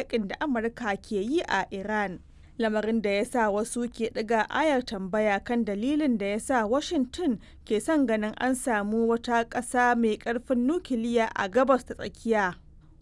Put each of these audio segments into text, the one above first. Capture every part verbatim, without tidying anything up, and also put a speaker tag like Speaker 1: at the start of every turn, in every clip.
Speaker 1: yakin da Amurka ke yi a Iran. Lamarin da ya sa wasu ke ɗiga ayar tambaya kan dalilin da ya sa Washington ke son ganin an samu wata ƙasa mai ƙarfin nukiliya a Gabas ta Tsakiya.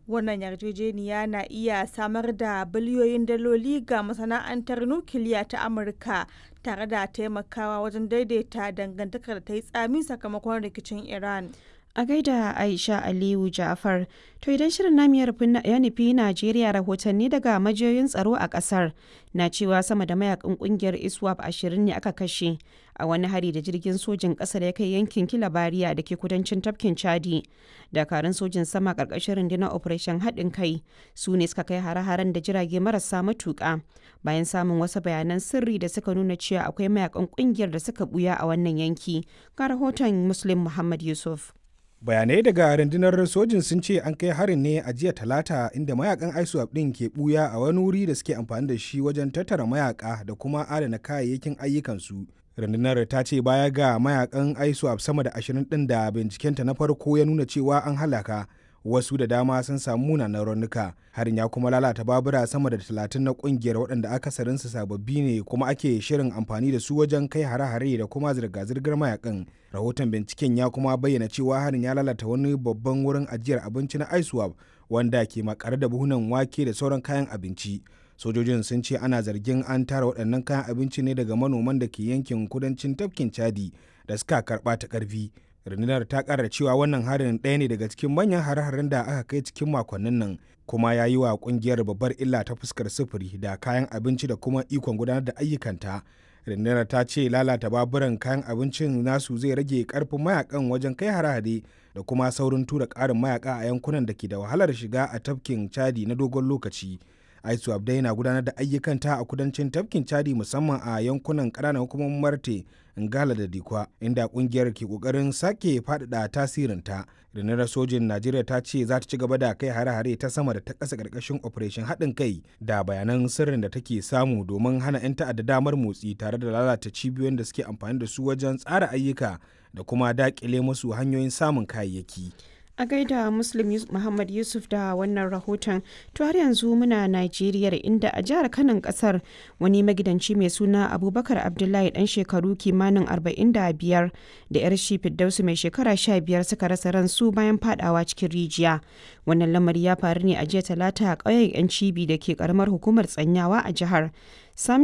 Speaker 1: Wannan yarjejeniya na iya samar da biliyoyin daloli ga masana'antar nukiliya ta Amurka tare da taimakawa wajen daidaita dangantakar da ta yi tsami sakamakon rikicin Iran.
Speaker 2: A gaida Aisha Aliyu Ja'far. To idan shirin namu ya nufi Najeriya, rahotanni daga majiyoyin tsaro a kasar na cewa sama da mayakan kungiyar ISWAP ashirin ne aka kashe a wani hari da jirgin sojin ƙasa da ya kai yankin Kilabariya da ke kudancin tafkin Chadi. Dakarun sojin sama ƙarƙashin rundunar Operation Haɗin Kai su ne suka kai hare-haren da jirage marasa matuƙa bayan samun wasu bayanan sirri da suka nuna cewa akwai mayakan kungiyar da suka buya a wannan yanki. Ga rahoton Muslim Muhammad Yusuf.
Speaker 3: Bayanai daga rundunar sojin sun ce an kai harin ne a jiya Talata, inda mayakan ISWAP din ke buya a wani wuri da suke amfani da shi wajen tattara mayaka da kuma adana kayayyakin ayyukansu. Rundunar ta ce baya ga mayakan ISWAP sama da ashirin din da bincikenta na farko ya nuna cewa an halaka, wasu da dama sun samu munanan raunuka. Harin ya kuma lalata babura sama da talatin na kungiyar, waɗanda akasarinsu sababbi ne kuma ake shirin amfani da su wajen kai hare-hare da kuma zirga-zirgar mayakan. Rahoton binciken ya kuma bayyana cewa harin ya lalata wani babban wurin ajiyar abinci na ISWAP wanda ke makare da buhunan wake da sauran kayan abinci. Sojojin sun ce ana zargin an tara waɗannan kayan abinci ne daga manoman da ke yankin kudancin tafkin Chadi da suka karɓa ta ƙarfi. Rundunar ta kara cewa wannan harin ɗaya ne daga cikin manyan hare-haren da aka kai cikin makonnin nan, kuma ya yi wa kungiyar babbar illa ta fuskar sufuri da kayan abinci da kuma ikon gudanar da ayyukanta. Rundunar ta ce lalata baburan kayan abincin nasu zai rage karfin mayakan wajen kai hare-hare da kuma saurin tura karin mayaka a yankunan da ke da wahalar shiga a tafkin Chadi na dogon lokaci. ISWAP dai na gudanar da ayyukanta a kudancin tafkin Chadi, musamman a yankunan ƙananan hukumomin Marte, Ngala da Dikwa, inda kungiyar ke kokarin sake faɗaɗa tasirinta. Rundunar sojin Najeriya ta ce za ta ci gaba da kai hare-hare ta sama da ta ƙasa ƙarƙashin Operation Haɗin Kai da bayanan sirrin da take samu domin hana 'yan ta'adda damar motsi tare da lalata cibiyoyin da suke amfani da su wajen tsara ayyuka da kuma daƙile musu hanyoyin samun kayayyaki.
Speaker 2: A gaida Muslim Muhammad Yusuf da wannan rahoton. To har yanzu muna Najeriya, inda a jihar Kanon kasar wani magidanci mai suna Abubakar Abdullahi dan shekaru kimanin arba'in da biyar da yar shi Firdausu mai shekara sha biyar suka rasa ransu bayan fadawa cikin rijiya. Wannan lamari ya faru ne a jiya Talata a ƙauyen Yan Cibi da ke karamar hukumar Tsanyawa a jihar. Sami